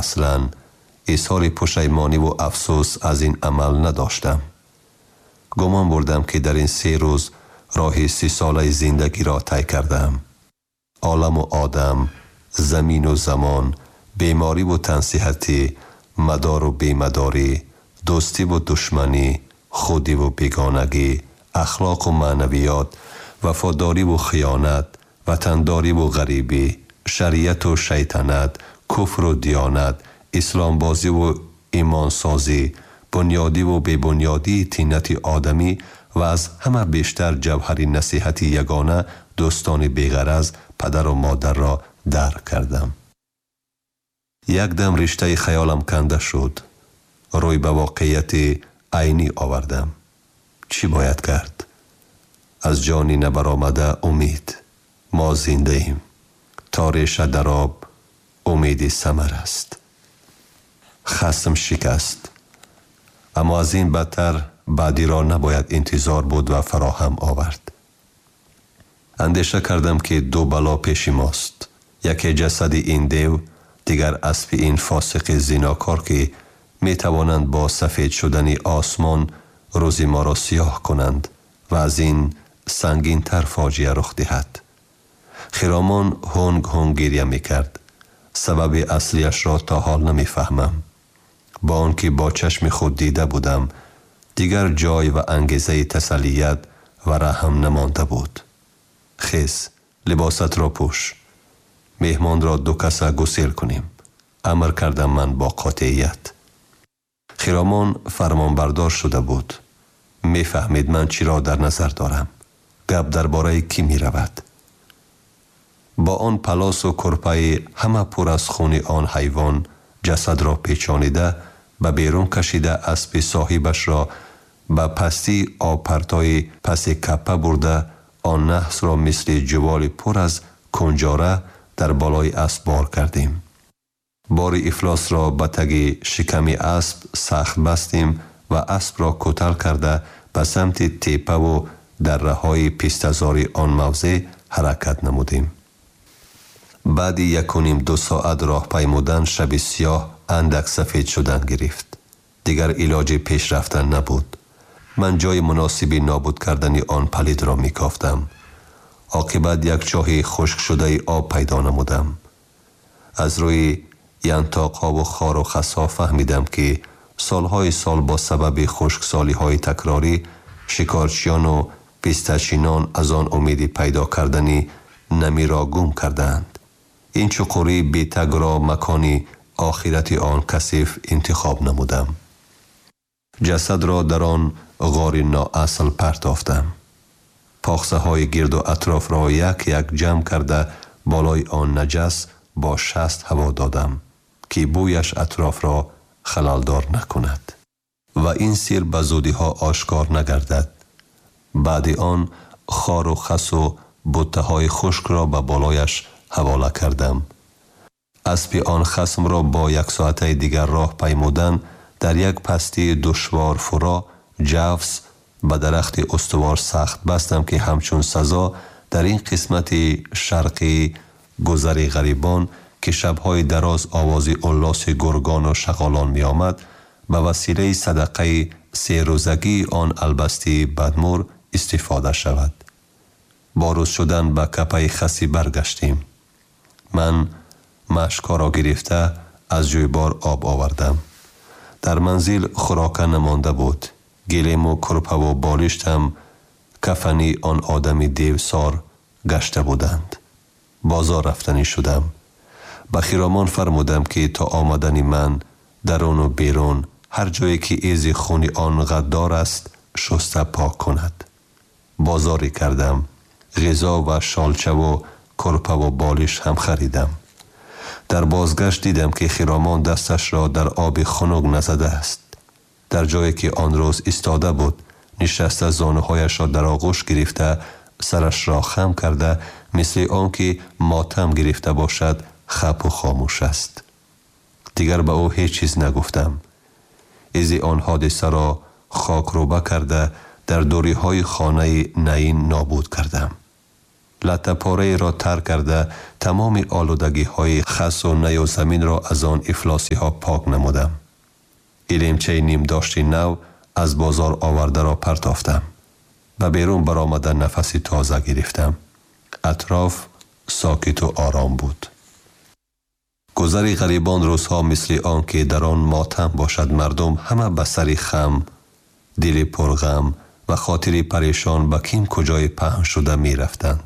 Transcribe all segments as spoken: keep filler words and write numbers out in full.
аслан изҳори пушаймониву афсӯс аз ин амал надоштам. Гумон бурдам, ки дар ин се рӯз роҳи сисолаи зиндагиро тай кардаам. Оламу одам, замину замон, бемориву тансиҳатӣ, мадору бемадорӣ, дӯстиву душманӣ, худиву бегонагӣ, ахлоқу маънавиёт, вафодориву хиёнат, ватандориву ғарибӣ, шариату шайтанат, куфру диёнат, исломбозиву имонсозӣ, бунёдиву бебунёдии тинати одамӣ ва аз ҳама бештар ҷавҳари насиҳати ягона дӯстони беғараз, падару модарро дарк кардам. Якдам риштаи хаёлам канда шуд. Рӯй ба воқеияти айнӣ овардам. Чӣ бояд кард? Аз ҷони набаромада умед. Мо зиндаем. То реша дар об, умеди самар аст. Хасм шикаст. Аммо аз ин бадтар баъдиро набояд интизор буд ва фароҳам овард. Андеша кардам, ки ду бало пеши мост. Яке ҷасади ин дев, дигар аспи ин фосиқи зинокор, ки метавонанд бо сафед шудани осмон рӯзи моро сиёҳ кунанд ва аз ин сангинтар фоҷиа рух диҳад. Хиромон ҳунг ҳунг гиря мекард. Сабаби аслиашро то ҳол намефаҳмам. Бо он ки бо чашми худ дида будам, дигар ҷой ва ангезаи тасаллият ва раҳм намонда буд. Хез, либосатро пӯш. Меҳмонро ду каса гусел кунем, амр кардам ман бо қотеият. Хиромон фармонбардор шуда буд. Мефаҳмид, ман чиро дар назар дорам. Гап дар бораи кӣ меравад. Бо он палосу курпаи ҳама пур аз хуни он ҳайвон ҷасадро печонида, ба берун кашида, аспи соҳибашро ба пастии обпартои паси каппа бурда, он наҳсро мисли ҷуволи пур аз кунҷора дар болои асп бор кардем. Бори ифлосро ба таги шиками асп сахт бастем ва аспро кӯтал карда, ба самти теппаву дарраҳои пистазори он мавзеъ ҳаракат намудем. Баъди якуним ду соат роҳ паймудан шаби сиёҳ андак сафед шудан гирифт. Дигар илоҷи пеш рафтан набуд. Ман ҷои муносиби нобуд кардани он палидро мекофтам. Оқибат як чоҳи хушкшудаи об пайдо намудам. Аз рӯи янтоқҳову хору хасҳо фаҳмидам, ки солҳои сол бо сабаби хушксолиҳои такрорӣ шикорчиёну пистачинон аз он умеди пайдо кардани намиро гум кардаанд. Ин чуқурии бетагро макони охирати он касиф интихоб намудам. Ҷасадро дар он ғори ноасл партофтам. Похсаҳои гирду атрофро як як ҷамъ карда, болои он наҷас бо шаст ҳаво додам, ки бӯяш атрофро халалдор накунад ва ин сир ба зудиҳо ошкор нагардад. Баъди он хору хасу буттаҳои хушкро ба болояш ҳавола кардам. Аспи он хасмро бо яксоатаи дигар роҳ паймудан дар як пастии душвор фуро ҷавз ба дарахти устувор сахт бастам, ки ҳамчун сазо дар ин қисмати шарқии гузари ғарибон, ки шабҳои дароз овози уллоси гургону шағолон меомад, ба василаи садақаи серӯзагии он албастии бадмур истифода шавад. Бо рӯз шудан ба капаи хасӣ баргаштем. Ман машкҳоро гирифта, аз ҷӯйбор об овардам. Дар манзил хӯрока намонда буд. Гилему курпаву болиштам кафани он одами девсор гашта буданд. Бозор рафтанӣ шудам. Ба хиромон фармудам, ки то омадани ман даруну берун, ҳар ҷое ки изи хуни он ғаддор аст, шуста пок кунад. Бозорӣ кардам. Ғизо ва шолчаву курпаву болиш ҳам харидам. Дар бозгашт дидам, ки хиромон дасташро дар оби хунук назадааст. Дар ҷое ки он рӯз истода буд, нишаста, зонуҳояшро дар оғӯш гирифта, сарашро хам карда, мисли он ки мотам гирифта бошад, хапу хомӯш аст. Дигар ба ӯ ҳеҷ чиз нагуфтам. Изи он ҳодисаро хокрӯба карда, дар дуриҳои хонаи наин нобуд кардам. Латтапораеро тар карда тамоми олудагиҳои хасу наю заминро аз он ифлосиҳо пок намудам. Гилемчаи нимдошти нав аз бозор овардаро партофтам. Ба берун баромада нафаси тоза гирифтам. Атроф сокиту ором буд. Гузари ғарибон рӯзҳо мисли он ки дар он мотам бошад, мардум ҳама ба сари хам, дили пурғам ва хотири парешон ба ким куҷои паҳн шуда мерафтанд.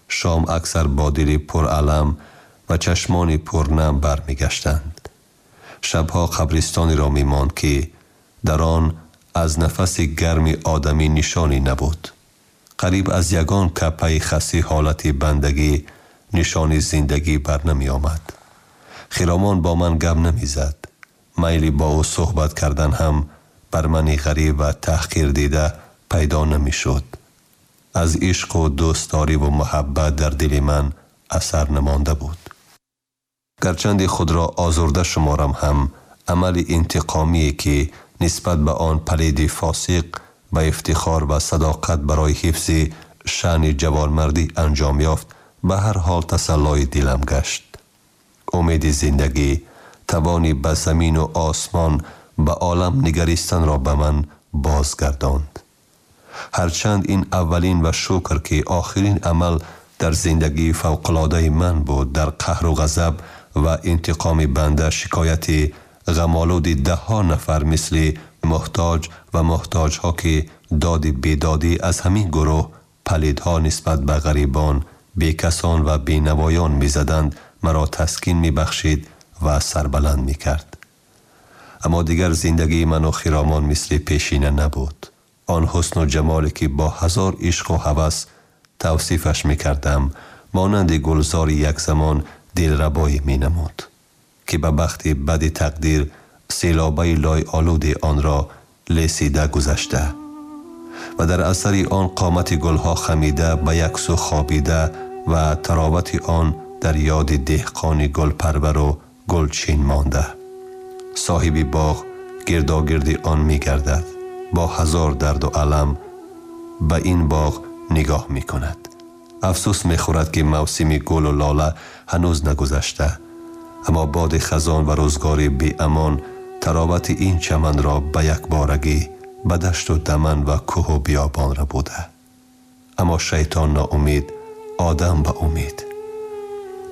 Шом аксар бо дили пуралам ва чашмони пурнам бармегаштанд. Шабҳо қабристонеро мемонд ки дар он аз нафаси гарми одамӣ нишонӣ набуд. Қариб аз ягон капаи хаси ҳолати бандагӣ нишони зиндагӣ бар намеомад. Хиромон бо ман гап намезад. Майли бо ӯ суҳбат кардан ҳам бар мани ғариб ва таҳқир дида пайдо намешуд. Аз ишқу дӯстдориву муҳаббат дар дили ман асар намонда буд. Гарчанде худро озурда шуморам ҳам, амали интиқомие ки нисбат ба он палиди фосиқ ба ифтихор ва садоқат барои ҳифзи шаъни ҷавонмардӣ анҷом ёфт, ба ҳар ҳол тасаллои дилам гашт. Умеди зиндагӣ, тавони ба замину осмон, ба олам нигаристанро ба ман бозгардонд. Ҳарчанд ин аввалин ва шукр ки охирин амал дар зиндагии фавқулодаи ман буд, дар қаҳру ғазаб ва интиқоми банда шикояти ғамолуди даҳҳо нафар мисли муҳтоҷ ва муҳтоҷҳо ки доди бедодӣ аз ҳамин гурӯҳ палидҳо нисбат ба ғарибон, бекасон ва бенавоён мезаданд, маро таскин мебахшид ва сарбаланд мекард. Аммо дигар зиндагии ману Хиромон мисли пешина набуд. Он ҳусну ҷамоле ки бо ҳазор ишқу ҳавас тавсифаш мекардам, монанди гулзори як замон дилрабое менамуд, ки ба бахти бади тақдир селобаи лойолуди онро лесида гузашта ва дар асари он қомати гулҳо хамида ба як сӯ хобида ва таровати он дар ёди деҳқони гулпарвару гулчин монда. Соҳиби боғ гирдогирди он мегардад, бо ҳазор дарду алам ба ин боғ нигоҳ мекунад. Афсӯс мехӯрад ки мавсими гулу лола ҳанӯз нагузашта, аммо боди хазон ва рӯзгори беамон таровати ин чаманро ба якборагӣ ба дашту даман ва кӯҳу биёбон рабуда. Аммо шайтон ноумид, одам ба умид.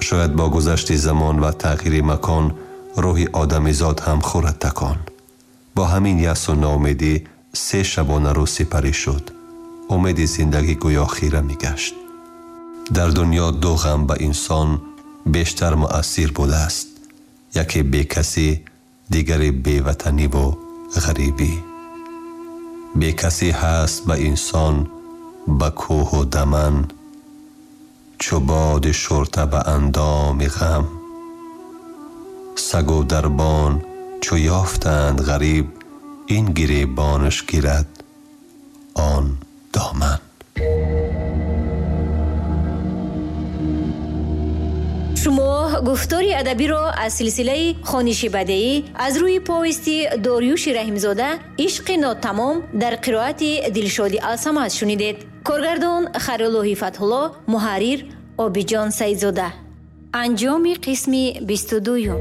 Шояд бо гузашти замон ва тағйири макон рӯҳи одамизод ҳам хӯрад такон. Бо ҳамин ясу ноумедӣ се шабона рӯз сипарӣ шуд. Умеди зиндагӣ гӯё хира мегашт. Дар дунё ду ғам ба инсон бештар муассир будааст: яке бекасӣ, дигаре беватаниву ғарибӣ. Бекасӣ ҳаст ба инсон ба кӯҳу даман, чу боди шурта ба андоми ғам. Сагу дарбон чу ёфтанд ғариб, ин гиребонаш гирад он доман. Шумо гуфтори адабиро аз силсилаи хониши бадеӣ аз рӯи повести Дориюши Раҳимзода «Ишқи нотамом» дар қироати Дилшоди Алсамад шунидед. Коргардон Хайруллоҳи Фатҳулло, муҳаррир Обиҷон Саидзода. Анҷоми қисми бисту дуюм.